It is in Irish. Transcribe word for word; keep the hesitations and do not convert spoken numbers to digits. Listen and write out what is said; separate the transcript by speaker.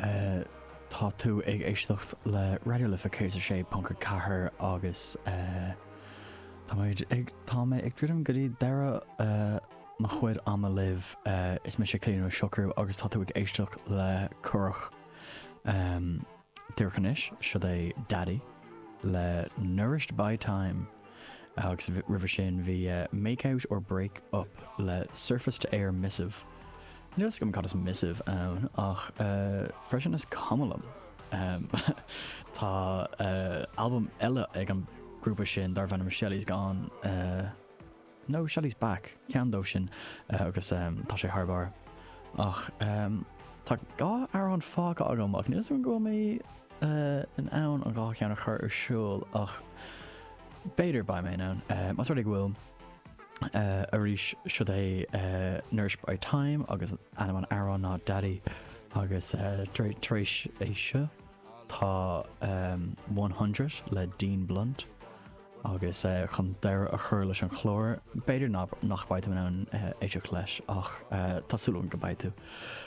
Speaker 1: Uh, tá tú ag éisteacht le Raidió Life céad a sé ponc a ceathair agus uh, Tá ag tá mé ag druidim go dtí deireadh uh, mo chuid ama libh uh, is mise Clíona Ó Siochrú agus tá tú ag éisteacht le Curach um, Díreach anois seo é Daddy le Nourished by Time agus roimhe sin bhí uh, Make Out or Break Up le Surface to Air Missive. Níl gom cad is missive ann ach uh, freisin is cuma liom. Um, tá uh, album eile ag an grúpa sin darb ainm Shelley's Gone uh, no Shelley's Back ceann dó sin uh, agus um, tá sé thar barr ach um, tá dhá amhrán fágtha agam ach níl go mé uh, in ann an dhá cheann a chur ar siúl ach b'fhéidir beidh mé ann uh, Más rud é go bhfuil uh, arís seo é uh, Nourished by Time agus ainm an amhráin ná Daddy agus uh, tar éis é seo tá um, céad le Dean Blunt agus uh, chun deireadh a chur leis an chlár b'fhéidir nach mbeidh tú in ann uh, éisteacht leis ach uh, tá súil agam go mbeidh tú.